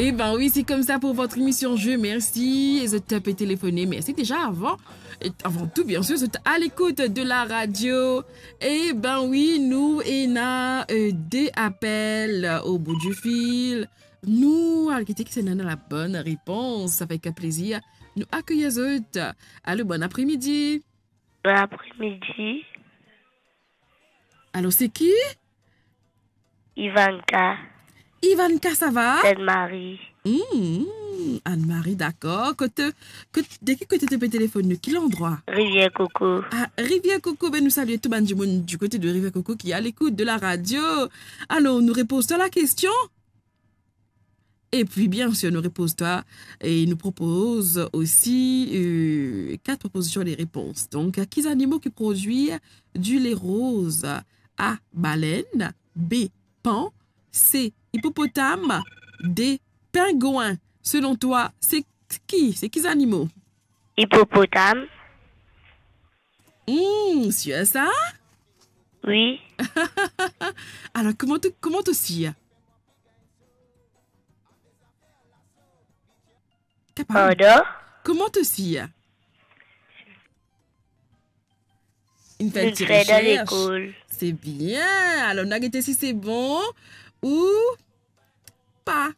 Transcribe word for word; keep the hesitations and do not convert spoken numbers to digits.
Eh ben oui, c'est comme ça pour votre émission Je Merci. Et zot pe téléphoné. Merci déjà avant. Et avant tout, bien sûr, zot à l'écoute de la radio. Eh ben oui, nou ena euh, deux appels au bout du fil. Nou al gete ki ena la bonne réponse avec plaisir. Nou accueillir zot. Allô, bon après-midi. Bon après-midi. Alors, c'est qui ? Ivanka. Ivanka, ça va ? Anne-Marie. Hmm, Anne-Marie, d'accord. Kote, kote, de ki kote to pe téléphoné ? Quel endroit ? Rivière Coco. Ah, Rivière Coco, ben nous saluons tout bann dimoun du côté de Rivière Coco qui est à l'écoute de la radio. Alors, nou repoz twa la question. Et puis, bien sûr, nou repoz twa et nous propose aussi euh, quatre propositions de réponse. Donc, ki zannimo ki prodwi du lait rose ? A, baleine. B, pan. C, hippopotame. D, pingouin. Selon toi, c'est qui ? C'est qui zannimo ? Hippopotame. Hmm, sûr ça ? Oui. Alors, comment tu, comment tu sais ? Capable. Pardon ? Comment tu sais ? Une petite recherche. C'est bien. Alors, nou a gete si c'est bon ou pas.